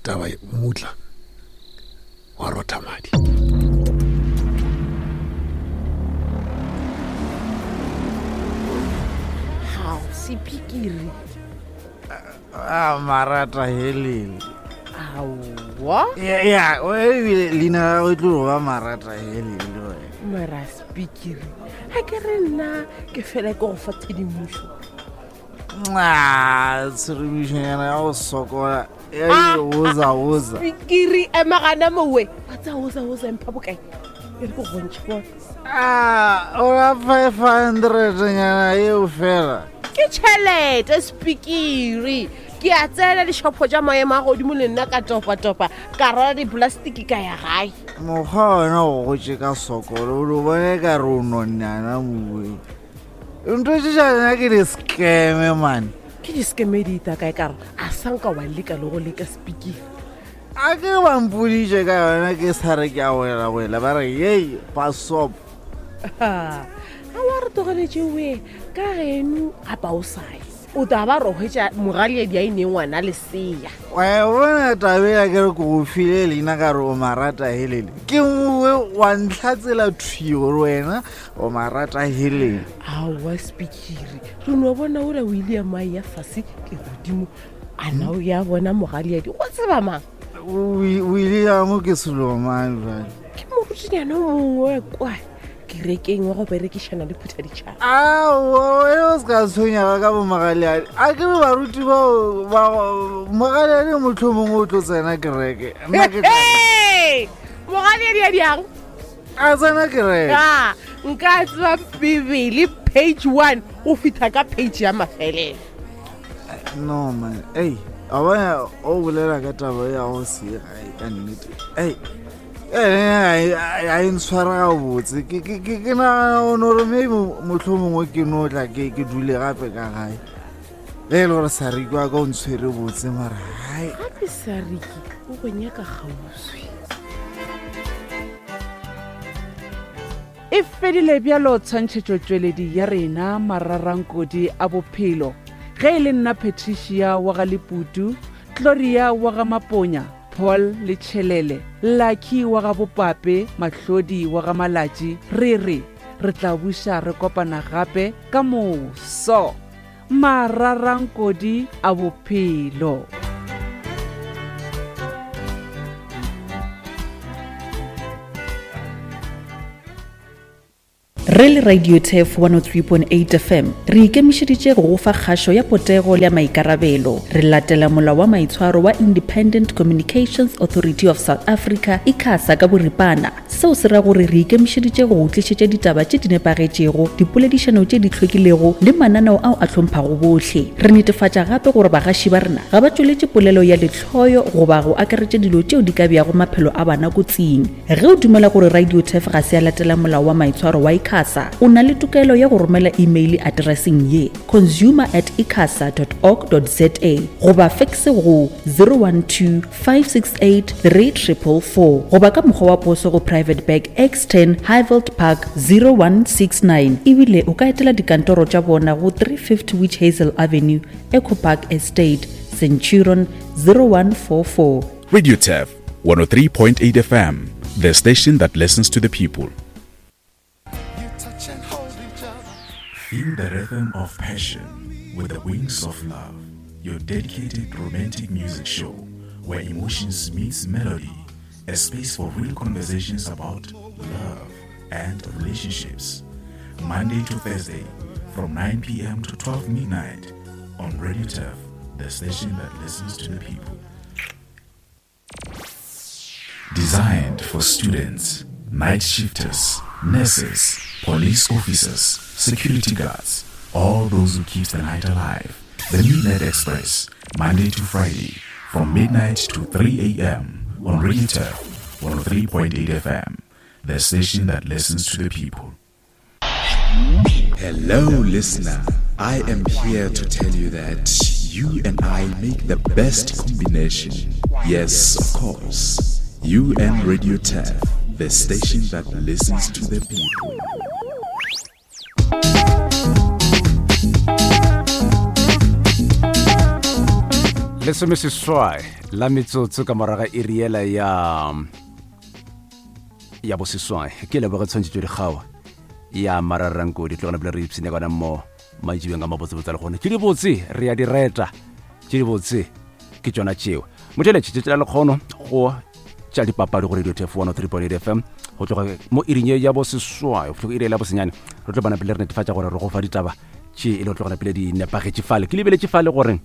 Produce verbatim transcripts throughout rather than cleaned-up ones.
taba mmutla wa rotha madi. Gao sepikiri. A marata helele. Aowa. Ya ya, o ebile leina la gago e tlo go ba marata helele wena. Mara sepikiri ga ke re nna ke fela ke go fa tshedimošo. Ah, tshedimošonyana ya go sokola ya oza oza. Sepikiri ema gana mowe wa tsa oza oza mpha bokae e re ke go bontšhe bona. Ah, o la five hundred nyana eo fela. Ke tšhelete sepikiri ke a tsena dishopo tša maemo a godimo le nna ka topatopa ka rwala diplastiki ka ya gae. Mokgwa wena o gotše ka sokolo o lo bone ka re o nonnyana mowe. Ntho tše tša lena ke di-scam man. Ke di-scam di ita kae ka re a sanka wa leka le go leka sepikiri. A ke ba mpoditše ka yona ke sa re ke a wela wela ba re yei pasop. Ga wa re tlogeletše we ka geno gapa o sae o tla ba re hwetša mogaleadi a e neng ngwana lesea. Wa bona tabe ya ke re ke go file leina ka re o marata helele. Ke mowe wa ntlhatsela thwi gore wena o marata helele. Aowa sepikiri re no bona ola o ile ya mae ya fase ke godimo a na o ya bona mogaleadi go tseba mang. O ile ya mo ke selomang jwale. Ke morutinyana o mongwe kwa kerekeng wa go berekišana le phuthaditšhaba. Aowa wena o se ka tshwenyega ka bomogaleadi. A ke re baruti bao ba mogaleadi mohlomongwe o tlo tsena kereke. Nna ke tla Mogaleadi a diang? A tsena kereke. Ah, nka tseba Bibele page one o fitha ka page ya mafelelo. No man, ei, a bona o bolela ka taba ya go se gae ka nnete. Ei, a e ntshwara gabotse. Ke ke ke ke nagana o no re maybe mohlomongwe ke no tla ke ke dule gape ka gae. Ge e le gore Sariki wa ka o ntshwere botse mara hai. Gape Sariki o go nyaka kgauswi. E fedile bjalo tshwantšhetšotšweledi ya rena mararankodi a bophelo. Ge e le nna Patricia wa ga Leputu, Gloria wa ga Maponya, Paul le Tšhelele, Lucky wa ga Bopape, Mahlodi wa ga Malatši, re re re tla buša re kopana gape ka moso. Mararankodi a bophelo. Re le Radio Turf one oh three point eight F M re ikemišeditše go go fa kgašo ya potego le ya maikarabelo. Re latela molao wa maitshwaro wa Independent Communications Authority of South Africa ICASA ka boripana. Seo se ra gore re ikemišeditše go go tlišetša ditaba tše di nepagetšego, dipoledišano tše di hlwekilego le mananeo ao a hlomphwago bohle. Re netefatša gape gore bagaši ba rena ga ba tšweletše polelo ya lehloyo goba go akaretša dilo tšeo di ka beago maphelo a bana kotsing. Ge o dumela gore Radio Turf ga se ya latela molao wa maitshwaro wa ICASA, o na le tokelo ya go romela email addresseng ye consumer at icasa dot org dot za goba fax go zero one two five six eight three triple four goba ka mokgwa wa poso go Private Bag X ten Highveld Park zero one six nine. Ebile o ka etela dikantoro tša bona go three fifty Witch Hazel Avenue, Eco Park Estate, Centurion zero one four four. Radio Turf one oh three point eight F M, the station that listens to the people. Feel the rhythm of passion with the wings of love, your dedicated romantic music show where emotions meets melody, a space for real conversations about love and relationships. Monday to Thursday from nine p.m. to twelve midnight on Radio Turf, the station that listens to the people. Designed for students, night shifters, nurses, police officers, security guards, all those who keep the night alive. The Midnight Express, Monday to Friday, from midnight to three a.m. on Radio Turf one oh three point eight F M, the station that listens to the people. Hello, listener. I am here to tell you that you and I make the best combination. Yes, of course. You and Radio Turf, the station that listens to the people. Lesomeseswai la metsotso ka morago ga iri yela ya ya boseswai. Ke leboge tshwantšhetšo dikgao ya mararankodi tlogana pele re ipshine gona mo maitšibeng ka mabotsebotse le gone. Tše dibotse re ya di reta, tše dibotse ke tšona tšeo. Motheletše tšatši la lekgono go tša dipapadi go Radio Turf one oh three point eight F M go tloga mo iring ye ya boseswai go fihla iri ya bosenyane. Re tlo bona pele re netefatša gore re go fa ditaba tše e le go tlogana pele di nepagetše fale. Ke lebeletše fale gore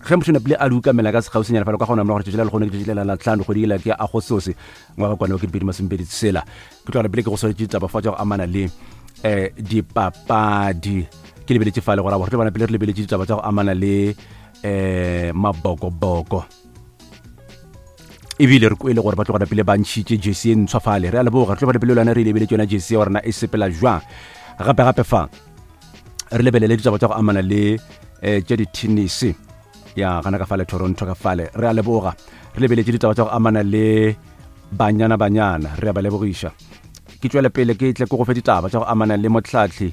ge motho napile a dukamela ka sekgauswinyana fale ka gona morago tšatši la lekgono ke tšatši la la tlhano kgwedi ela ke Agostose ngwaga kwane wa ketepedi masomepedi tshela. Ke tlogana pele ke go swaretše ditaba fa tša go amana le um dipapadi. Ke lebeletše fale gore re tlo bona pele re lebeletše ditaba tša go amana le um mabokoboko. Ebile re kwele gore ba tlogana pele ba ntšhitše jersey e ntshwa fale. Re a leboga, re tlo bona pele lona re lebeletše yona jersey ya gorena e sepela jwang. Gape gape fa re lebelele ditaba tša go amana le um tša di-tennis ya gana ka fale Toronto ka fale. Re a leboga, re lebeletše ditaba tša go amana le banyana banyana, re a ba lebogiša. Ke tšwele pele ke tle ke go fe ditaba tša go amana le motlhatlhi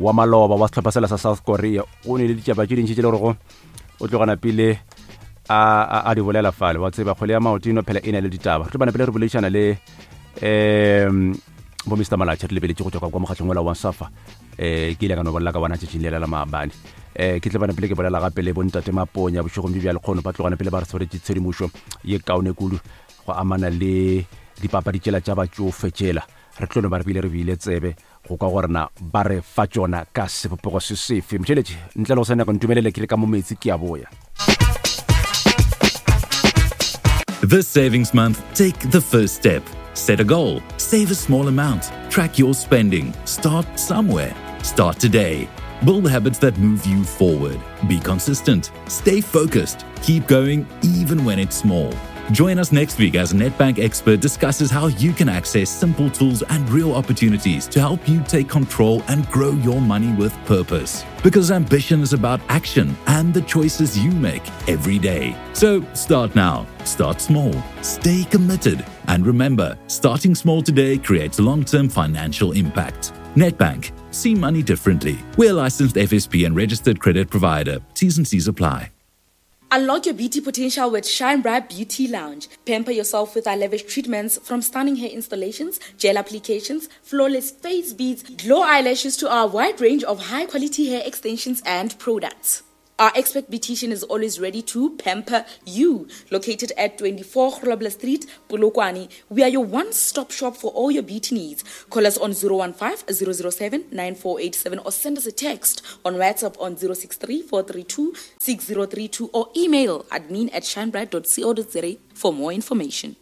wa maloba wa sehlopha sela sa South Korea. Go ne le ditaba tše dintši tše le gorego o tlogana pele a a di bolela fale. Wa tseba kgwele ya maoto eno phela e na le ditaba. Re tlo bana pele re boledišana le um bo Mister Malatšhe, re lebeletše go tšwa ka kwa mokgatlong ola wa Safa. Eh ke ile ka no bolela ka bona tšatšing lela la maabane. Eh ke tle bana pele ke bolela gape le bontate Maponya bošegong bjo bja lekgono ba tlogana pele ba re tshwaretše tshedimošo ye kaone kudu go amana le dipapadi tšela tša batšofe tšela. Re tlo no ba re bile re bile tsebe go kwa gore na ba re fa tšona ka sebopego se sefe. Motheletše ntle le go sa nyaka ntumelele ke re ka mo metsi ke a boya. This savings month, take the first step. Set a goal, save a small amount, track your spending, start somewhere. Start today. Build habits that move you forward. Be consistent. Stay focused. Keep going even when it's small. Join us next week as Nedbank expert discusses how you can access simple tools and real opportunities to help you take control and grow your money with purpose. Because ambition is about action and the choices you make every day. So start now. Start small. Stay committed. And remember, starting small today creates long-term financial impact. Nedbank. See money differently. We're a licensed F S P and registered credit provider. T's and C's apply. Unlock your beauty potential with Shine Bright Beauty Lounge. Pamper yourself with our lavish treatments, from stunning hair installations, gel applications, flawless face beads, glow eyelashes to our wide range of high-quality hair extensions and products. Our expert beautician is always ready to pamper you. Located at twenty-four Grobler Street, Polokwane, we are your one-stop shop for all your beauty needs. Call us on zero one five, zero zero seven, nine four eight seven or send us a text on WhatsApp on zero six three, four three two, six zero three two or email admin at shinebright dot co dot za for more information.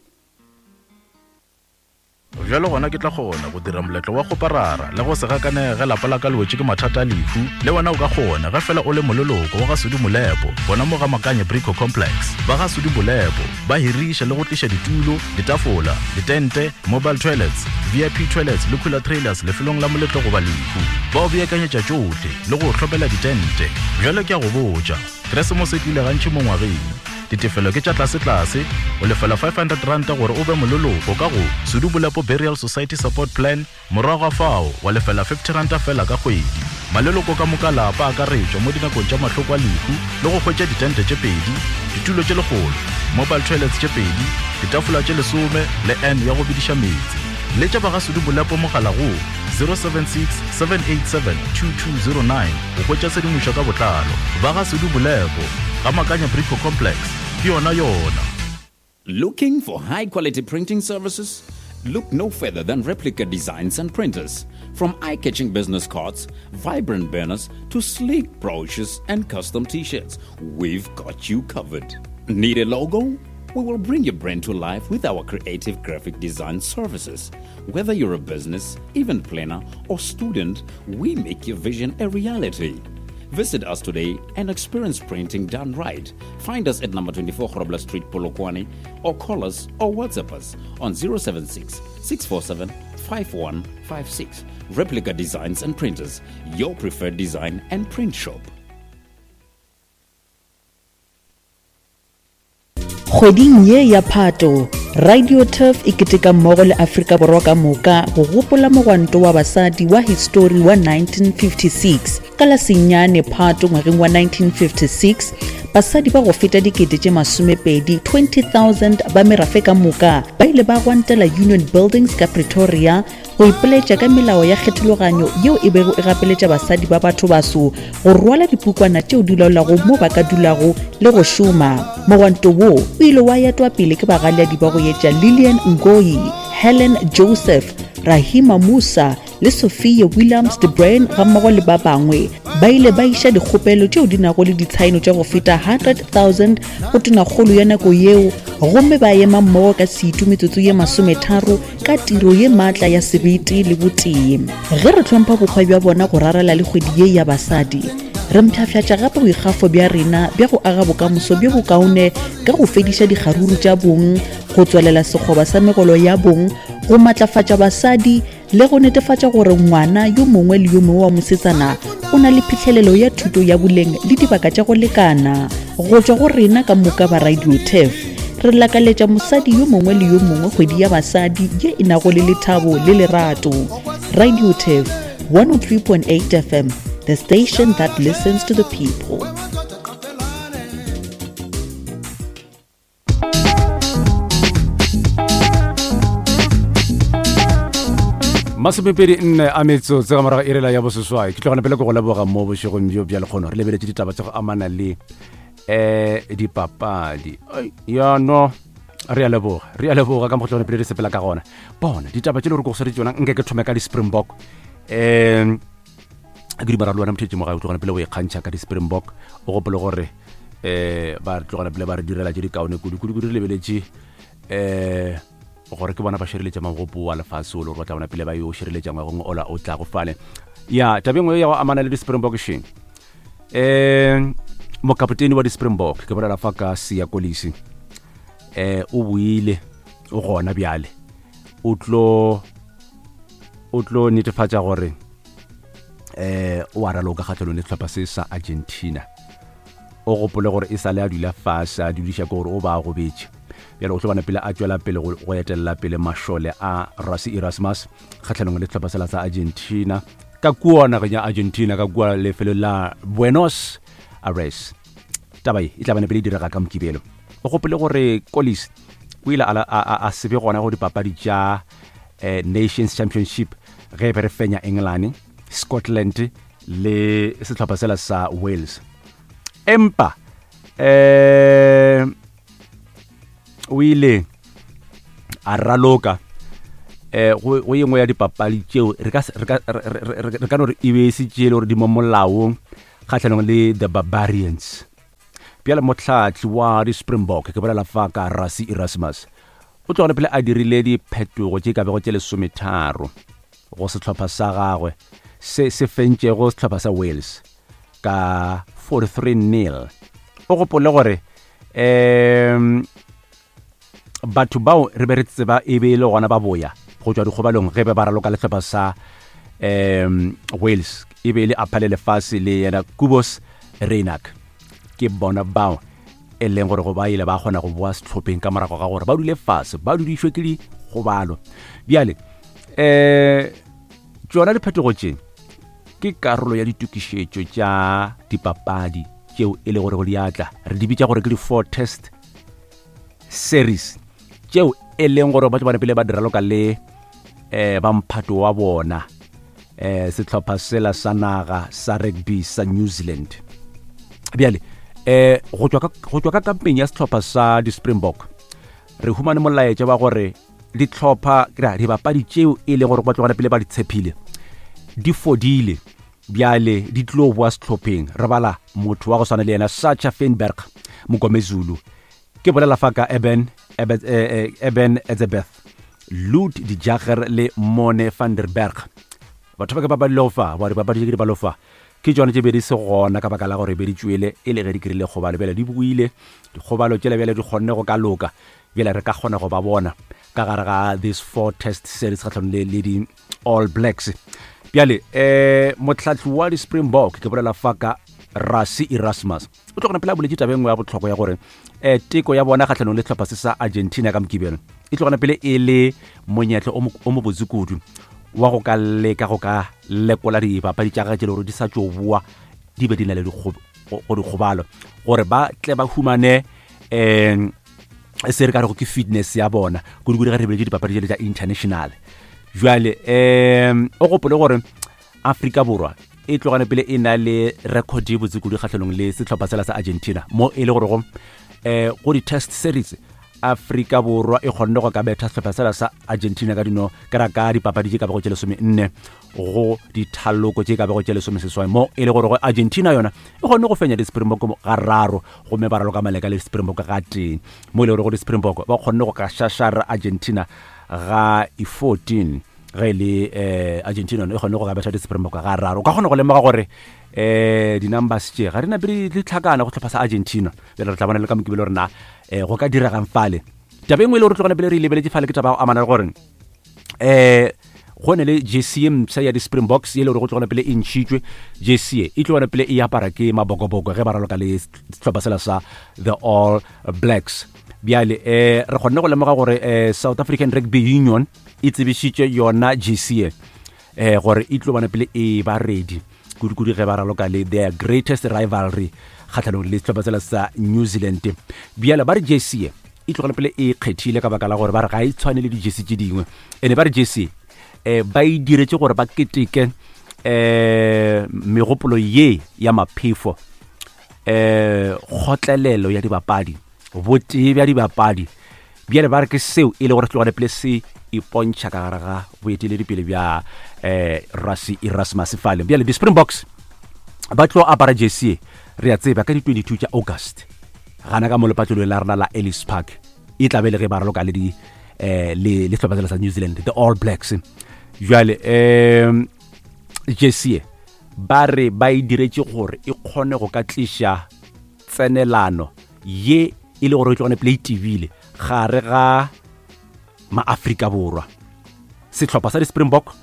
Bjalo gona ke tla kgona go dira moletlo wa go parara le go se gakanege lapa la ka le wetše ke mathata a lehu. Le wena o ka kgona ge fela o le moleloko wa ga Sudi Molepo gona mo ga Makanye Brico Complex. Ba ga Sudi Molepo ba hiriša le go tliša ditulo, ditafola, ditente, mobile toilets, V I P toilets le cooler trailers lefelong la moletlo goba lehu. Ba o beakanyetša tšohle le go hlopela ditente. Bjalo ke a go botša, Keresemose e tlile gantši mo ngwageng. Ditefelo ke tša tlase-tlase, o lefela five hundred rand gore o be moleloko ka go Sudi Molepo Burial Society Support Plan, morago ga fao wa lefela fifty rand fela ka kgwedi. Maleloko ka moka lapa a akaretšwa mo dinakong tša mahloko a lehu le go hwetša ditente tše pedi, ditulo tše lekgolo, mobile toilets tše pedi, ditafola tše lesome le N ya go bidiša metsi. Letša ba ga Sudi Molepo mogala go zero seven six, seven eight seven, two two zero nine go hwetša tshedimošo ka botlalo. Ba ga Sudi Molepo ga Makanya Brico Complex ke yona yona. Looking for high-quality printing services? Look no further than Replica Designs and Printers. From eye-catching business cards, vibrant banners, to sleek brochures and custom t-shirts, we've got you covered. Need a logo? We will bring your brand to life with our creative graphic design services. Whether you're a business, event planner, or student, we make your vision a reality. Visit us today and experience printing done right. Find us at number twenty-four Grobler Street, Polokwane, or call us or WhatsApp us on zero seven six, six four seven, five one five six. Replica Designs and Printers, your preferred design and print shop. Kgweding ye ya Phato, Radio Turf e keteka mmogo le Afrika Borwa ka moka go gopola mogwanto wa basadi wa histori wa nineteen fifty-six. Ka la senyane Phato ngwageng wa nineteen fifty-six, basadi ba go feta dikete tše masomepedi twenty thousand ba merafe ka moka ba ile ba gwantela Union Buildings ka Pretoria go ipoletša ka melao ya kgethologanyo yeo e bego e gapeletša basadi ba batho baso go rwala dipukwana tšeo di laolago mo ba ka dulago le go šoma. Mogwanto wo o ile wa etwa pele ke bagaleadi ba go etša Lillian Ngoyi, Helen Joseph, Rahima Musa le Sophia Williams de Bruyn gammogo le ba bangwe. Ba ile ba iša dikgopelo tšeo di nago le ditshaeno tša go feta hundred thousand go tonakgolo ya nako yeo, gomme ba ema mmogo ka setu metsotso ye masometharo ka tiro ye maatla ya sebete le botee. Ge re hlompha bokgwa bja bona go rarela le kgwedi ye ya basadi, re mpshafšatša gape boikgafo bja rena bja go aga bokamoso bjo bokaone ka go fediša dikgaruru tša bong, go tswelela sekgoba sa megolo ya bong, go matlafatša basadi le go netefatša gore ngwana yo mongwe le yo mongwe wa mosetsana o na le phihlelelo ya thuto ya boleng le dibaka tša go lekana. Go tšwa go rena ka moka ba Radio Turf, re lakaletša mosadi yo mongwe le yo mongwe kgwedi ya basadi ye e nago le lethabo le lerato. Radio Turf one oh three point eight F M, the station that listens to the people. Masomepedi nne a metsotso ka morago irela ya boseswai. Ke tlogana pele ke go leboga mo bošegong bjo bja lekgono. Re lebeletše ditaba tša go amana le eh dipapadi. Ai, ya no, re a leboga, re a leboga ka mokgwa tlogana pele re sepela ka gona. Bona ditaba tše le gore ke go swaretse tšona, nke ke thome ka di-Springbok. Um ke dumela le wena mothetši mogae o tlogana pele o ikgantšha ka di-Springbok, o gopole gore eh ba re tlogana pele ba re direla tše di kaone kudu kudu kudu. Re lebeletše eh gore ke bona ba šireletša magopo wa lefase o le gore ba tla bona pele ba yo šireletša ngwagong ola o tlago fale. Ya taba e nngwe ya go amana le di-Springbok šeng, um mokapotene wa di-Springbok ke bolela fa ka Siya Kolisi, um o buile o gona bjale o tlo o tlo netefatša gore eh o a raloka kgatlhanong le sehlopha se sa Argentina. O gopole gore e sale a dula fase a dudiša ke gore o ba a gobetše. Bjale o tlo bona pele a tšwela pele go etelela pele mašole a Rassie Erasmus kgatlhanong le sehlopha sela sa Argentina ka kua nageng ya Argentina, ka kua lefelong la Buenos Aires. Taba ye e tla bana pele e direga ka Mokibelo. O gopole gore Kolisi o ile a, a, a se be gona go dipapadi tša eh, Nations Championship ge be re fenya England, Scotland le sehlopha sela sa Wales. Empa eh o ile a raloka eh go go yengwe ya dipapadi tšeo re ka re ka re ka no re e be se tšele gore di mo molaong kgatlhanong le the Barbarians. Bjale motlhatli wa di-Springbok ke bolela fa ka Rassie Erasmus o tlogane pele a dirile diphetogo tše ka bego tše lesometharo go sehlopha sa gagwe se se fentšego sehlopha sa Wales ka forty-three nil. O gopole gore um batho bao re be re tseba e be e le gona ba boya go tšwa dikgobalong ge be ba raloka le sehlopha sa um Wales, e be e le Aphale Lefase le yena Kubos Reinak. Ke bona bao e leng gore go ba ile ba kgona go boa sehlopheng ka morago ga gore ba dule fase ba dudišwe ke dikgobalo. Bjale um tšona diphetogo tše ke karolo ya ditokišetšo tša dipapadi tšeo e le gore go di atla re di bitša gore ke di-four test series tšeo e leng gore ba tlo bona pele ba diraloka le eh ba mphato wa bona eh sehlopha sela sa naga sa rugby sa New Zealand. Bjale eh go tšwa ka go tšwa ka kampeng ya sehlopha sa di-Springbok re humane molaetša wa gore dihlopha ke dibapadi tšeo e leng gore ba tlogana pele ba di tshepile di fodile, bjale di tlo boa sehlopheng. Re bala motho wa go swana le yena Sacha Feinberg Mngomezulu, ke bolela fa ka Eben Eben, eh, Eben Etzebeth, Lood de Jager le Mone van der Berg. Batho ba ke ba ba fa ba dipapadi tše ke di ba lofa ke tšona tše be di se gona ka baka la gore be di tšwele e le ge di krile kgobalo. Bjale di boile dikgobalo tšela bjale di kgonne go ka loka, bjale re ka kgona go ba bona ka gare ga this four test series kgatlhanong le le di All Blacks. Bjale eh motlhatli wa di-Springbok ke bolela fa ka Rassie Erasmus o tlogana pele a boletše taba e nngwe ya bohlokwa ya gore eh teko ya bona kgatlhanong le sehlopha se sa Argentina ka Mokibelo e tlogana pele e le monyetla o mobotse kudu wa go ka leka go ka lekola dipapadi tša gagwe tše le gore di sa tšo boa di be di na le go dikgobalo gore ba tle ba humane um se re ka rego ke fitness ya bona kudu-kudu ge re beletše dipapadi tšele tša international. Jwale um o gopole gore Afrika Borwa e tlogane pele e na le record ye botse kudu kgatlhanong le sehlopha sela sa Argentina mo e le gore go um go di-test series Afrika Borwa e kgonne go ka betha sehlopha sela sa Argentina ka dino ka ra ka dipapadi tše ka bego tše lesome nne go dithaloko tše ka bego tše lesome seswai mo e le gore go Argentina yona e kgonne go fenya di-Springbok ga raro gomme ba raloka maleka le di-Springbok ga tee mo e le gore go di-Springbok ba kgonne go ka šašara Argentina ga e fourteen ge le eh Argentina yona e kgonne go ka betha di-Springbok ga raro. O ka kgona go lemoga gore eh di-numbers tše ga di nape di tlhakana go tlhopha sa Argentina. Bjale re tla bona le ka mokibelo gore na eh go ka diregang fale. Taba e nngwe e le gore tlogane pele re e lebeletše fale ke taba ya go amana le gore eh go ne le jersey ye mpsha ya di-Springboks ye le gore go tlogana pele e ntšhitšwe. Jersey ye e tlogana pele e apara ke mabokoboko ge ba raloka le sehlopha sela sa the All Blacks. Bjale eh re kgonne go lemoga gore eh South African Rugby Union e tsebišitše yona jersey ye eh gore e tlo bana pele e ba ready kudu-kudu ge ba raloka le their greatest rivalry kgatlhanong le sehlopha sela sa New Zealand. Bjale ba re jersey ye e tlogela pele e kgethile ka baka la gore ba re ga e tshwane le di-jersey tše dingwe, ene ba re jersey eh ba e diretše gore ba keteke eh megopolo ye ya maphefo eh kgotlelelo ya dibapadi, botee bja dibapadi. Bjale ba re ke seo e le gore tlogele pele se ipontšha ka gare ga boeteledipele bja eh Rassie Erasmus fale. Bjale di-Springboks ba tlo apara jersey re a tseba ka di twenty-two tša August gana ka mo lepatlelong la rena la Ellis Park e tla be le ge ba raloka le di eh le le sehlopha sela sa New Zealand the All Blacks. Jwale um jersey ba re ba e diretše gore e kgone go ka tliša tsenelano ye e le gore e tlogane pele e tebile gare ga maAfrika Borwa, sehlopha sa di-Springbok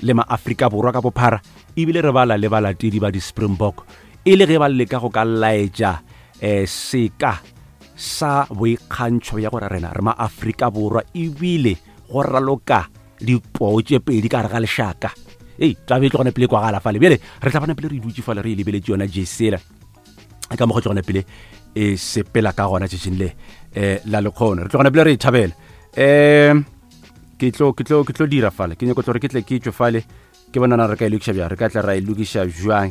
le maAfrika Borwa ka bophara, ebile re bala le balatedi ba di-Springbok e le ge ba leka go ka laetša eh seka sa boikgantšho ya gore rena re maAfrika Borwa ebile go raloka dipoo tše pedi ka gare ga lešaka. Ei taba e tlogane pele kwagala fale. Bjale re tla bona pele re dutše fale re e lebeletše yona jesela ka mokgwa tlogane pele e sepela ka gona tšatšing le eh la lekgono re tlogane pele re e thabela. Um ke tlo ke tlo ke tlo dira fale ke nyako tlo re ke tle ke tšwe fale ke bona na re ka e lokiša bjang, re ka tla ra e lokiša bjang.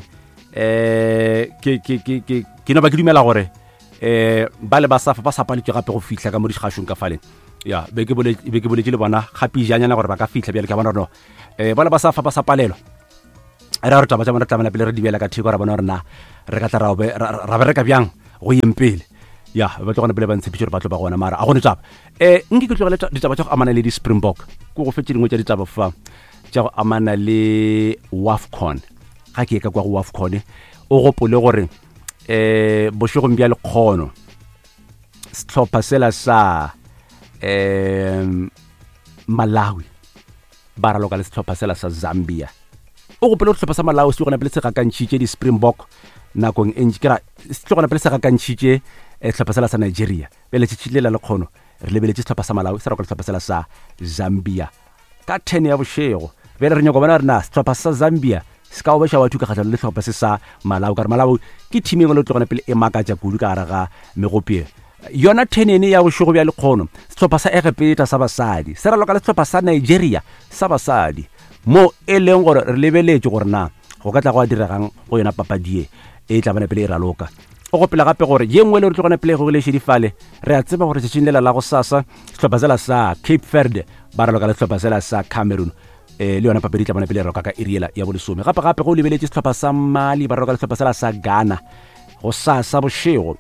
Eh ke ke ke ke ke no ba ke dumela gore eh ba le ba sa ba sa paletšwe gape go fihla ka mo dikgašong ka fale. Ya be ke boletše be ke boletše le bona gapejanyana gore ba ka fihla bjale ke bona gore no eh ba le ba sa fa ba sa palelwa re re taba tša bona re tlamela pele re di beela ka theko ra bona gore na re ka tla ra ra bereka bjang go yeng pele. Ya ba tlogana pele ba ntshepiše gore ba tlo ba gona mara a gone taba. Eh nke ke tlogele ditaba tša go amana le di-Springbok ke go fetše dingwe tša ditaba fa tša go amana le WAFCON. Ga ke ye ka kwa go WAFCON o gopole gore eh bošegong bja lekgono sehlopha sela sa um Malawi ba raloka le sehlopha sela sa Zambia. O gopole gore sehlopha sa Malawi se tlogana pele se gakantšhitše di-Springbok nakong e ntši ke ra se tlogana pele se gakantšhitše sehlopha sela sa Nigeria. Bjale tšatši le la lekgono re lebeletše sehlopha sa Malawi se raloka le sehlopha sela sa Zambia ka ten ya bošego. Bjale re nyako bona gore na sehlopha sa Zambia se ka obeša batho ka kgatlhanong le sehlopha se sa Malawi ka gore Malawi ke team e nngwe le tlogana pele e makatša kudu ka gare ga megopie. Yona ten ene ya bošego bja lekgono sehlopha sa Egepeta sa basadi se raloka le sehlopha sa Nigeria sa basadi mo e leng gore re lebeletše gore na go ka tla go a diregang go yona papadi ye e tla bana pele e raloka. O gopela gape gore ye nngwe le re tlogana pele go lešedi fale re a tseba gore tšatšing lela la go sasa sehlopha sela sa Cape Verde ba raloka le sehlopha sela sa Cameroon eh le yona papadi e tla bona pele e raloka ka iri yela ya bolesome. Gape gape go lebeletše sehlopha sa Mali ba raloka le sehlopha sela sa Ghana go sasa bošego.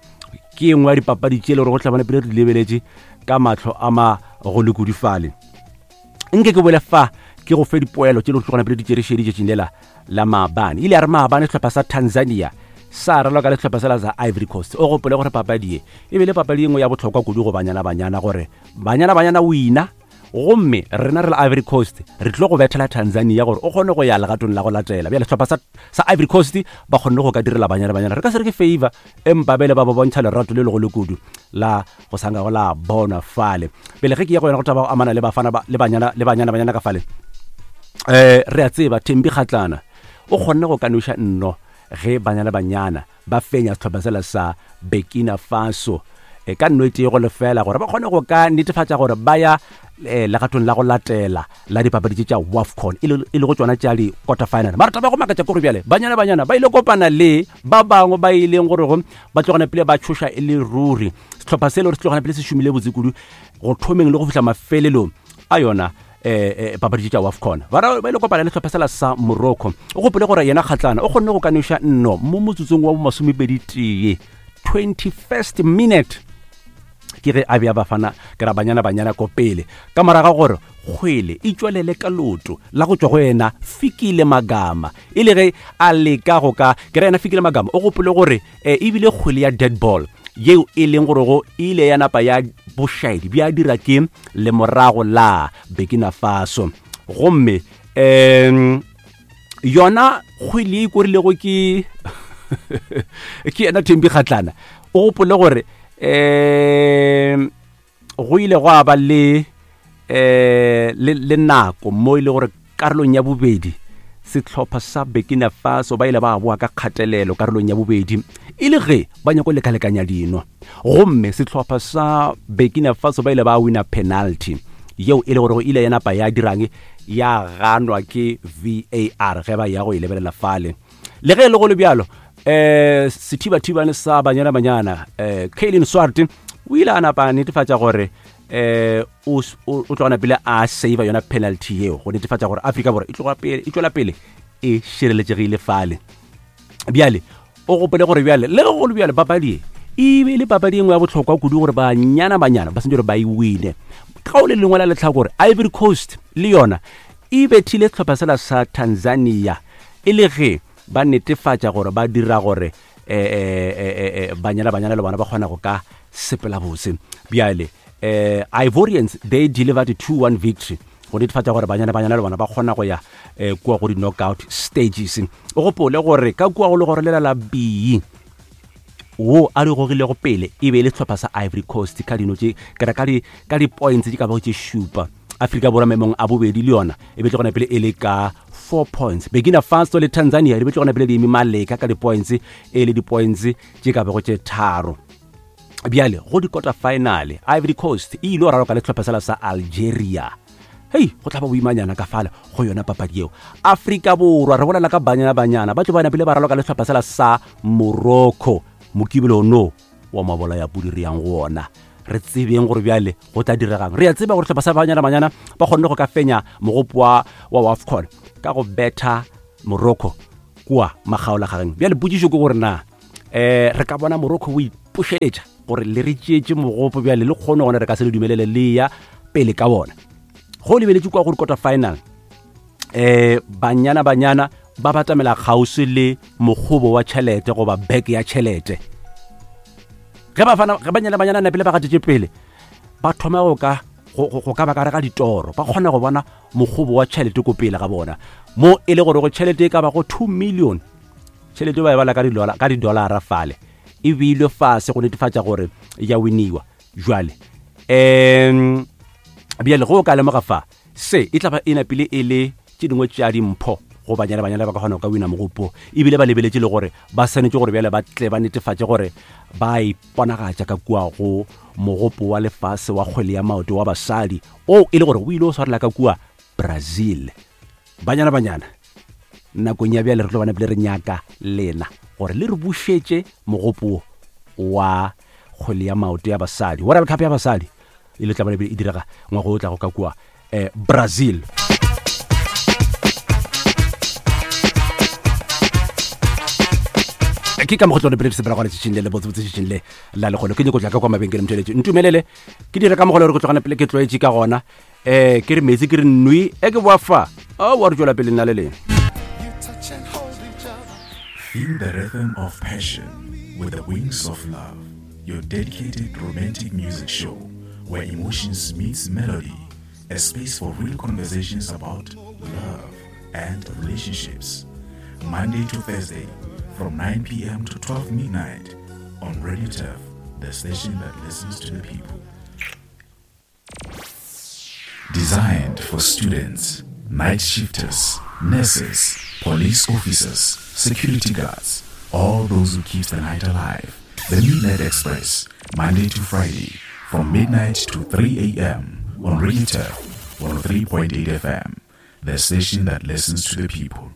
Ke e nngwe ya dipapadi tše le gore go tla bona pele re di lebeletše ka mahlo a magolo kudu fale. Nke ke bole fa ke go fe dipoelo tše le go tlogana pele di tšerešedi tšatšing lela la maabane. Ile ya re maabane sehlopha sa Tanzania sa raloka le sehlopha sela sa Ivory Coast. O gopole gore papadi ye e be le papadi e nngwe ya bohlokwa kudu go Banyana Banyana gore Banyana Banyana wina gomme rena re le Ivory Coast re tlo go bethela Tanzania gore o kgone go ya legatong la go latela. Bjale sehlopha sa, sa Ivory Coast ba kgonne go ka direla Banyana Banyana re ka se re ke favor empa bele ba ba bontšha lerato le legolo kudu la go sanga go la bona fale. Bjale ge ke ya go yona go taba go amana le bafana ba le Banyana le Banyana Banyana ka fale um re a tseba Thembi Kgatlana o kgonne go kanoša nno ge Banyana Banyana ba fenya sehlopha sela sa Burkina Faso e ka nno e tee go lefela gore ba kgone go ka netefatša gore ba ya eh, legatong la go latela la dipapadi tše tša WAFCON e le e le go tšona tša di-quarter final. Mara taba ya go makatša ke gore bjale Banyana Banyana ba ile kopana le ba bangwe ba ileng gore go ba tlogana pele ba tšhoša e le ruri. Sehlopha se le gore se tlogana pele se šomile botse kudu go thomeng le go fihla mafelelong a yona eh, eh, papadi tša WAFCON. Ba ra- ba ile kopana le sehlopha sela sa Morocco. O gopole gore yena Kgatlana o kgonne go kanoša nno mo motsotsong wa bo masomepedi tee, twenty-first minute, ke ge a bea Bafana ke ra Banyana Banyana ko pele ka moraga gore kgwele e tšwelele ka loto la go tšwa go yena Fikile Magama, e le ge a leka go ka ke ra yena Fikile Magama. O gopole gore eh, ebile kgwele ya dead ball yeo e leng gore go ile ya napa ya bošaedi bja dira ke lemorago la Burkina Faso, gomme um yona kgwele ye e korilego ke ke yena Thembi Kgatlana. O gopole gore um go ile gwa ba le eh le, le nako mo e le gore karolong ya bobedi sehlopha sa Burkina Faso ba ile ba boa ka kgatelelo karolong ya bobedi e le ge ba nyako lekalekanya dino, gomme sehlopha sa Burkina Faso ba ile ba wina penalty yeo e le gore ile ya napa ya dirang ya ganwa ke V A R ge ba ya go e lebelela fale. Le ge e le go le bjalo, um sethibathibane sa Banyana Banyana um Kaylin Swart o ile a napa a netefatša gore eh o s- o o tlogana pele a save yona penalty yeo go netefatša gore Afrika Borwa e tloga pele e tšwela pele e šireletšegile fale. Bjale o gopole gore bjale le ge go le bjale papadi e e be e le papadi e nngwe ya bohlokwa kudu gore Banyana Banyana ba sentse gore ba e wine. Ka o le lengwe la letlhakore, Ivory Coast le yona e bethile sehlopha sela sa Tanzania e le ge ba netefatša gore ba dira gore eh, eh, eh, eh, Banyana Banyana le bona ba kgona go ka sepela bose. Bjale eh, Ivorians, they delivered a two one victory go netefatša gore Banyana Banyana le bona ba kgona go ya eh, kua go di-knockout stages. O gopole gore ka kua go le gore lela la B wo a di gogilego pele e be e le sehlopha sa Ivory Coast ka dino tše kera ka di ka di-points tše ka bago tše šupa. Afrika Borwa maemong a bobedi le yona e be tle gona pele e le ka four points. Burkina Faso le Tanzania di be tle gona pele di eme maleka ka di-points e le di-points tše ka bago tše tharo. Bjale go di-quarter final, Ivory Coast e ile go raloka le sehlopha sela sa Algeria. Hei, go tla ba boimanyana ka fale go yona papadi yeo. Afrika Borwa, re bolela ka Banyana Banyana, ba tlo ba napile ba raloka le sehlopha sela sa Morocco Mokibelo no wa mabola ya pudi re yang go ona. Re tsebeng gore bjale go tla diregang. Re a tseba gore sehlopha sa Banyana Banyana ba kgonne go ka fenya mogopo wa wa WAFCON ka go betha Morocco kua magaolagageng. Bjale potšišo ke gore na um re ka bona Morocco o ipošeletša gore le re tšeetše mogopo, bjale le kgone gona re ka se le dumelele le ya pele ka bona. Go lebeletše kua go di-quarter final, eh Banyana Banyana ba batamela kgauswi le mokgobo wa tšhelete goba bek ya tšhelete. Ge bafana ge Banyana Banyana napile ba gatetše pele, ba thoma go ka go go- go ka ba ka re ga ditoro ba kgona go bona mokgobo wa tšhelete ko pele ga bona, mo e le gore go tšhelete e ka ba go two million, tšhelete ba e bala ka di-dollar- ka di-dollara fale e beilwe fase go netefatša gore ya winiwa. Jwale um bjale go o ka lemoga fa se e tla ba e napile e le tše dingwe tša dimpho go Banyana Banyana ba ka kgona go ka wina mogopo, ebile ba lebeletše le gore ba swanetše gore bjale ba tle ba netefatše gore ba iponagatša ka kua go mogopo wa lefase wa kgwele ya maoto wa basadi o e le gore o ile o swarela ka kua Brazil. Banyana Banyana nakong ya bjale re tlo bana pele re nyaka lena gore le re bušetše mogopo wa kgwele ya maoto ya basadi, World Cup ya basadi e le tla bana pele e direga ngwaga o tlago ka kua eh, Brazil. Ke ka mokgotlo pele sepela gona tšatšing le le botsebotse tšatšing le la lekgolo. Ke nyako tla ka kwa mabenkeleng, motšheletše ntumelele ke dire ka mogolo gore ke tlogana pele ke tlwaetše ka gona um ke re metsi ke re nwi e ke boa fa o wa re tswela pele nna le leng. Feel the rhythm of passion with the Wings of Love, your dedicated romantic music show where emotions meets melody, a space for real conversations about love and relationships. Monday to Thursday from nine p m to twelve midnight on Radio Turf, the station that listens to the people. Designed for students, night shifters, nurses, police officers, security guards, all those who keep the night alive. The Midnight Express, Monday to Friday, from midnight to three a.m. on Radio Turf one oh three point eight F M, the station that listens to the people.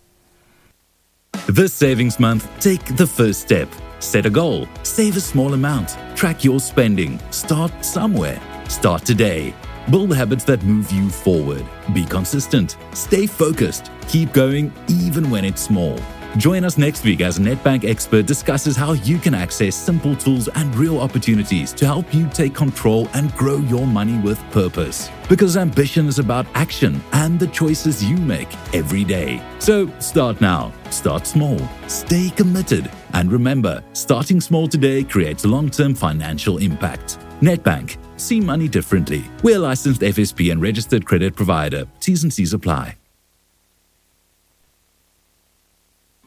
This savings month, take the first step. Set a goal, save a small amount, track your spending, start somewhere. Start today. Build habits that move you forward. Be consistent. Stay focused. Keep going even when it's small. Join us next week as Nedbank expert discusses how you can access simple tools and real opportunities to help you take control and grow your money with purpose. Because ambition is about action and the choices you make every day. So start now, start small, stay committed, and remember, starting small today creates long-term financial impact. Nedbank, see money differently. We're a licensed F S P and registered credit provider. T's and C's apply.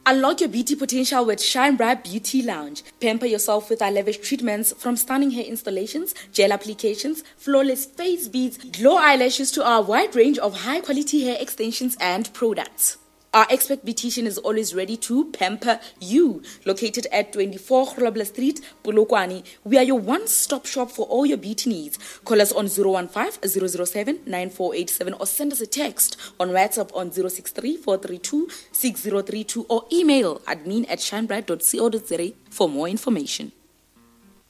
Unlock your beauty potential with Shine Bright Beauty Lounge. Pamper yourself with our lavish treatments, from stunning hair installations, gel applications, flawless face beads, glow eyelashes to our wide range of high-quality hair extensions and products. Our expert beautician is always ready to pamper you. Located at twenty-four Grobler Street, Polokwane, we are your one-stop shop for all your beauty needs. Call us on zero one five, zero zero seven, nine four eight seven or send us a text on WhatsApp on zero six three, four three two, six zero three two or email admin at shinebright dot co dot za for more information.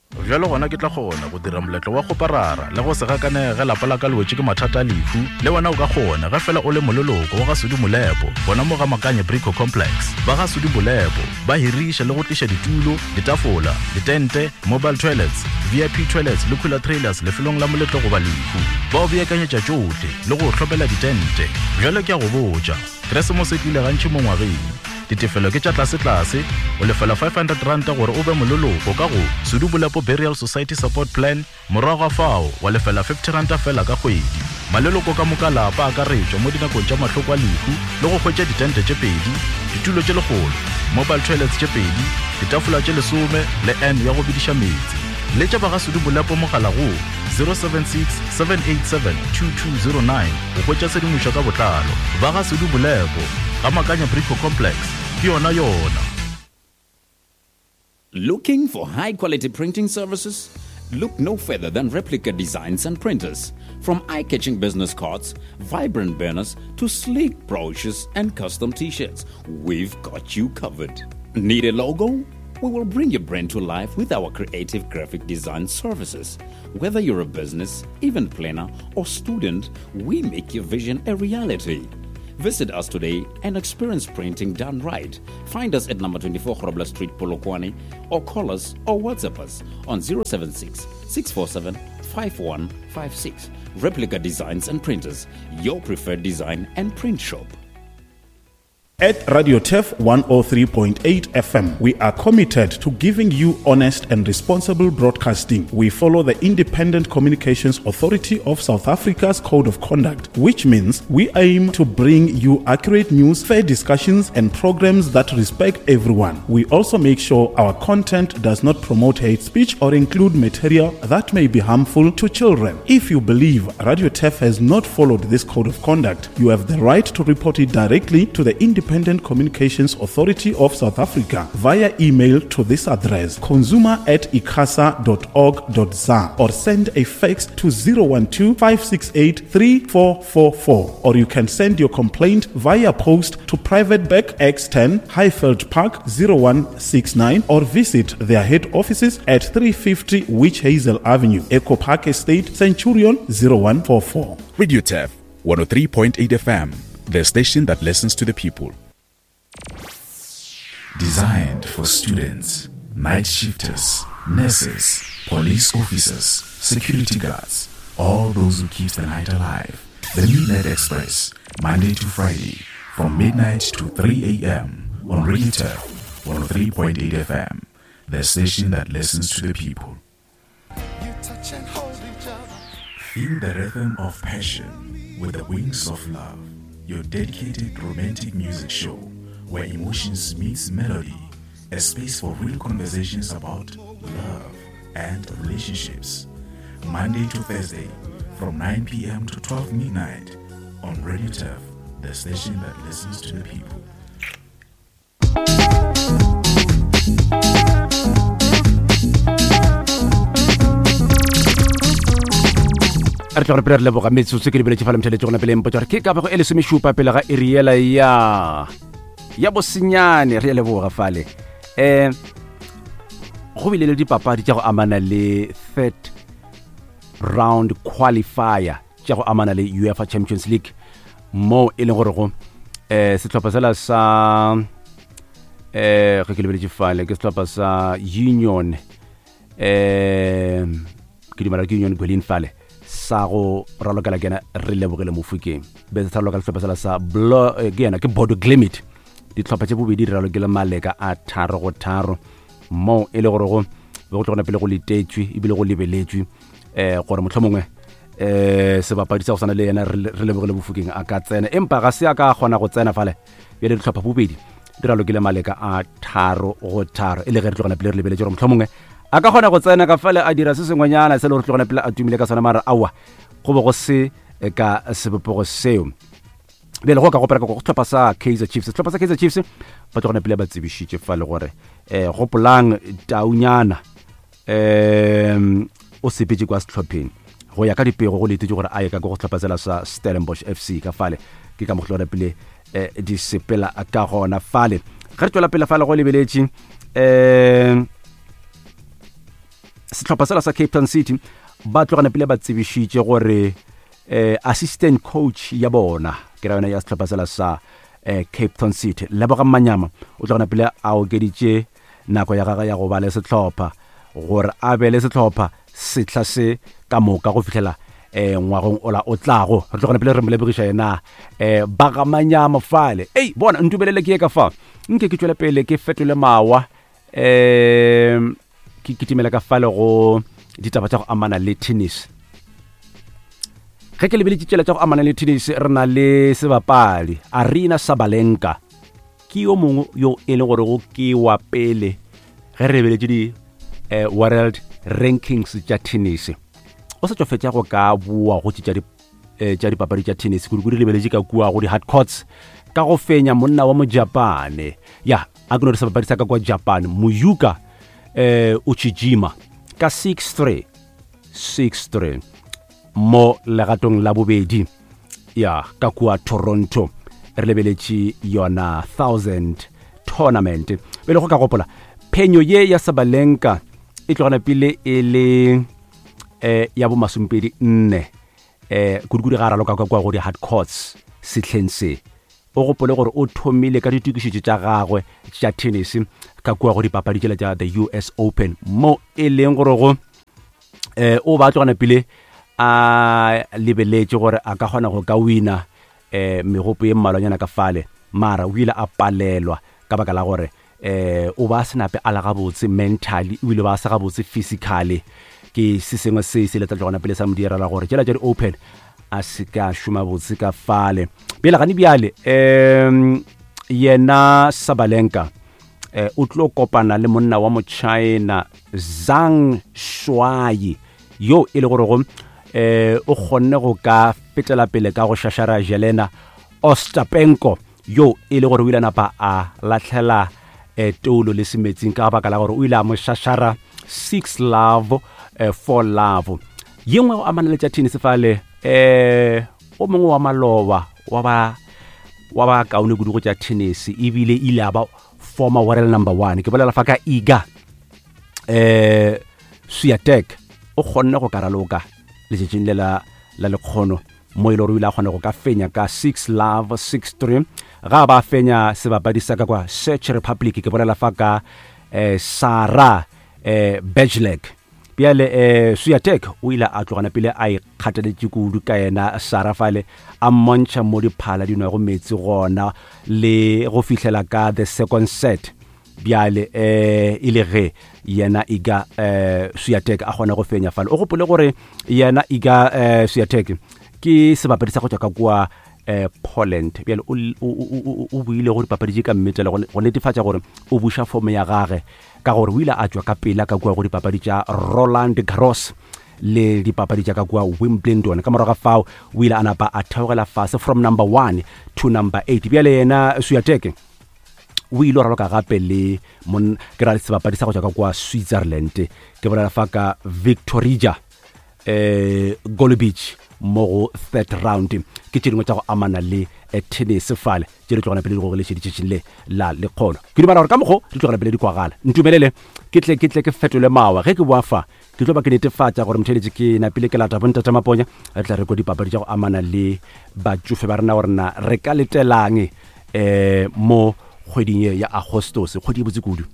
Bjalo gona ke tla kgona go dira moletlo wa go parara le go se gakanege lapa la ka le wetše ke mathata a lehu. Le wena o ka kgona ge fela o le moleloko wa ga Sudi Molepo, bona mo ga Makanye Brico Complex. Ba ga Sudi Molepo ba hiriša le go tliša ditulo, ditafola, ditente, mobile toilets, V I P toilets le cooler trailers lefelong la moletlo goba lehu. Ba o beakanyetša tšohle le go hlopela ditente. Bjalo ke a go botša, Keresemose e tlile gantši mo ngwageng. Ditefelo ke tša tlase-tlase, o lefela five hundred rand gore o be moleloko ka go Sudi Molepo Burial Society Support Plan, morago ga fao wa lefela fifty rand fela ka kgwedi. Maleloko ka moka lapa a akaretšwa mo dinakong tša mahloko a lehu le go hwetša ditente tše pedi, ditulo tše lekgolo, mobile toilets tše pedi, ditafola tše lesome le N ya go bediša meetse. Letša ba ga Sudi Molepo mogala go zero seven six, seven eight seven, two two zero nine go hwetša tshedimošo ka botlalo. Ba ga Sudi Molepo ga Makanya Brico Complex, ke yona yona. Looking for high-quality printing services? Look no further than Replica Designs and Printers. From eye-catching business cards, vibrant banners, to sleek brochures and custom t-shirts, we've got you covered. Need a logo? We will bring your brand to life with our creative graphic design services. Whether you're a business, event planner, or student, we make your vision a reality. Visit us today and experience printing done right. Find us at number twenty-four Grobler Street, Polokwane, or call us or WhatsApp us on zero seven six, six four seven, five one five six. Replica Designs and Printers, your preferred design and print shop. At Radio Turf one oh three point eight F M, we are committed to giving you honest and responsible broadcasting. We follow the Independent Communications Authority of South Africa's Code of Conduct, which means we aim to bring you accurate news, fair discussions, and programs that respect everyone. We also make sure our content does not promote hate speech or include material that may be harmful to children. If you believe Radio Turf has not followed this Code of Conduct, you have the right to report it directly to the Independent Communications Authority of South Africa via email to this address, consumer at icasa dot org dot za, or send a fax to zero one two, five six eight, three four four four, or you can send your complaint via post to Private Bag X ten, Highveld Park zero one six nine, or visit their head offices at three fifty Witch Hazel Avenue, Echo Park Estate, Centurion zero one four four. Radio Turf one oh three point eight F M, the station that listens to the people. Designed for students, night shifters, nurses, police officers, security guards, all those who keep the night alive. The Midnight Express, Monday to Friday, from midnight to three a m on Radio Turf one oh three point eight F M, the station that listens to the people. Feel the rhythm of passion with the Wings of Love, your dedicated romantic music show where emotions meets melody, a space for real conversations about love and relationships. Monday to Thursday from nine p m to twelve midnight on Radio Turf the station that listens to the people. Re tla gore pele re leboga metsotso ke lebeletše fa lemtheletše gona pele mpotsa gore ke ka bego e lesomešupa pele ga iriela ya ya bosenyane. Re a leboga fale. Um go bile le dipapadi tša go amana le third round qualifier tša go amana le UEFA Champions League, mo e leng gore go um sehlopha sela sa um ge ke lebeletše fale ke sehlopha sa Union, um ke dumela ke Union Berlin fale sa go ralokela ke yena re lebogile Mofokeng, be se raloka sehlopha sela sa Blo ke yena ke Bodo Glimt. Dihlopha tše bobedi di ralokile maleka a tharo go tharo, mo e le gore go be go tlogona pele go letetšwe ebile go lebeletšwe um gore mohlomongwe um sebapadi sa go swana le yena re lebogile Mofokeng a ka tsena, empa ga se a ka kgona go tsena fale. Bjale dihlopha bobedi di ralokile maleka a tharo go tharo, e le ge re tlogona pele re lebeletše gore mohlomongwe a ka kgona go tsena ka fale a dira se sengwenyana se le gore tlogona pele a tumile ka sona, mara aowa go be go se ka sebopego seo. Bjale go ka gopela ka go sehlopha sa Kaizer Chiefs, sehlopha sa Kaizer Chiefs ba tlogona pele ba tsebišitše fa le gore um gopolang taunyana um o sepetše kwa sehlopheng go ya ka dipego go letetše gore a ye ka go sehlopha sela sa Stellenbosch F C ka fale, ke ka mo tlogona pele um di sepela ka gona fale. Ge re tšwela pele fale go lebeletše um sehlopha sela sa Cape Town City ba tlogana pele ba tsebišitše gore eh, assistant coach ya bona ke ra yona ya sehlopha sela sa eh, Cape Town City Lebogang Manyama o tlogana pele a okeditše nako ya gagwe ya go ba le sehlopha gore a be le sehlopha sehla se ka moka go fihlela eh, ngwagong ola o tlago. Re tlogana pele re mo lebogiša yena eh, ba ga Manyama fale. Ei bona ntubelele ke ye ka fa nke ke tšwele pele ke fetole mawa um ke kitimela ka fale go ditaba tša go amana le tennis. Ge ke lebeletše tšela tša go amana le tennis, re na le sebapadi Aryna Sabalenka, ke yo mongwe yo e leng gore go ke wa pele ge re lebeletše di eh, world rankings tša tennis. O sa tšo fetša go ka boa go tše tša dipapadi tša tennis, kudu-kudu lebeletše ka kua go di-hard courts ka go fenya monna wa Mojapane, ya a ke no re sebapadi sa ka kwa Japan Muyuka eh Uchijima ka six three six three mo legatong la bobedi ya ka kua Toronto. Re lebeletše yona thousand tournament. Pele go ka gopola phenyo ye ya Sabalenka e tlogana pele e le eh ya bo masomepedi nne eh kudu-kudu ga raloka ka kua go di hard courts sehleng se. O gopole gore o thomile ka ditokišetšo tša gagwe tša tennis ka kua go dipapadi tšela tša the U S Open, mo e leng gore go eh o ba tlogana pele a lebeletše gore a ka kgona go ka wina eh megopo ye mmalwanyana ka fale, mara o ile a palelwa ka baka la gore eh o ba senape a la gabotse mentally, o ile ba se gabotse physically. Ke se sengwe se se letla tlogana pele sa mo direla gore tšela tša di-Open a se ka šoma botse ka fale. Bjale gane bjale um yena Sabalenka eh, o tlo kopana le monna wa mo-China Zhang Shuai yo e le gore go eh, o kgonne go ka fetela pele ka go šašara Jelena Ostapenko yo e le gore o ile napa a lahlela eh, toulo le semetsing ka baka la gore o ile a mo šašara six love eh, four love. Ye nngwe go amana le tša tennis fale eh o mongwe wa maloba wa ba wa ba kaone kudu go tša tennis ebile ile a ba former world number one, ke bolela fa ka Iga eh Swiatek, o kgonne go ka raloka letšatšing le la la lekgono mo e le gore o ile a kgona go ka fenya ka six love six three ga ba fenya sebapadi sa ka kwa Czech Republic, ke bolela fa ka eh, Sara eh, Bejlek. Bjale eh, Swiatek o ile a tlogana pele a ikgateletše kudu ka yena Sara fale a mmontšha mo diphala di nwago metsi gona le go fihlela ka the second set. Bjale eh e le ge yena Iga eh, Swiatek a kgona go fenya fale. O gopole gore yena Iga eh, Swiatek ke sebapadi sa go tšwa ka kua eh, Poland. Bjale o buile go dipapadi tše ka mmetela go netefatša gore o buša fomo ya gage ka gore o ile a tšwa ka pela ka kua go dipapadi tša Roland Garros le dipapadi tša ka kua Wimbledon. Ka morago ga fao o ile a napa a theogela fase from number one to number eight. Bjale yena Swiatek o ile raloka gape le mon ke ra sebapadi sa go tšwa ka kua Switzerland, ke bolela fa ka Victorija eh Golubic mo go third round. Ke tše dingwe tša go amana le tennis fale tše di tlogana pele di gogeletšeditšetšeng le la lekgono. Ke dumela gore ka mokgo di tlogana pele di kwagala. Ntumelele ke tle ke tle ke fetole mawa ge ke boa fa ke tlo ba ke netefatša gore motheletše ke napile ke lata bontate Maponya re tla re ko dipapadi tša go amana le batšofe ba rena gore na re ka letelang eh mo kgweding ye ya Agostose, kgwedi e botse kudu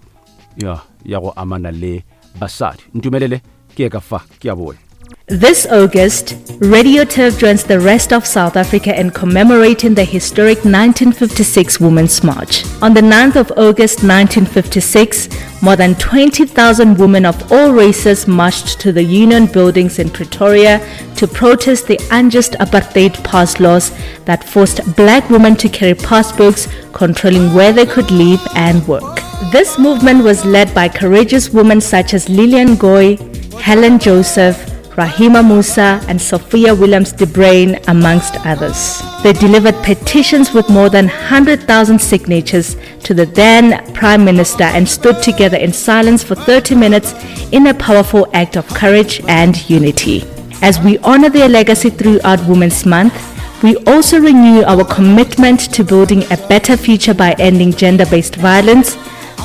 ya ya go amana le basadi. Ntumelele ke ye ka fa ke a boya. This August, Radio Turf joins the rest of South Africa in commemorating the historic nineteen fifty-six Women's March. On the ninth of August nineteen fifty-six, more than twenty thousand women of all races marched to the Union Buildings in Pretoria to protest the unjust apartheid pass laws that forced black women to carry passbooks controlling where they could live and work. This movement was led by courageous women such as Lillian Goy, Helen Joseph, Rahima Moosa and Sophia Williams de Bruyn, amongst others. They delivered petitions with more than one hundred thousand signatures to the then Prime Minister and stood together in silence for thirty minutes in a powerful act of courage and unity. As we honor their legacy throughout Women's Month, we also renew our commitment to building a better future by ending gender-based violence,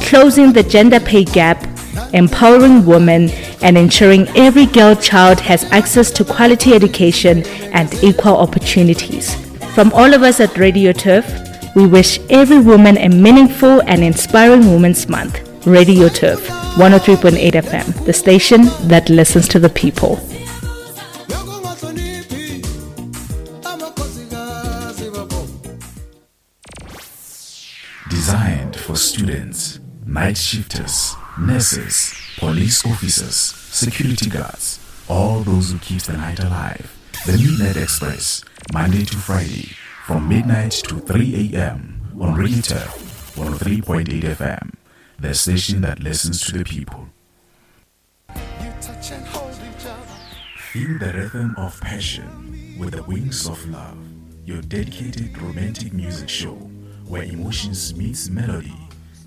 closing the gender pay gap, empowering women, and ensuring every girl child has access to quality education and equal opportunities. From all of us at Radio Turf, we wish every woman a meaningful and inspiring Women's Month. Radio Turf, one oh three point eight F M, the station that listens to the people. Designed for students, night shifters, nurses, police officers, security guards, all those who keep the night alive. The Midnight Express, Monday to Friday, from midnight to three a.m. on Radio Turf, one oh three point eight F M, the station that listens to the people. Feel the rhythm of passion with the Wings of Love, your dedicated romantic music show where emotions meets melody,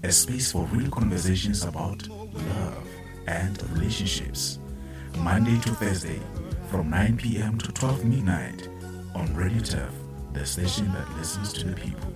a space for real conversations about love and relationships. Monday to Thursday from nine p.m. to twelve midnight on Radio Turf, the station that listens to the people.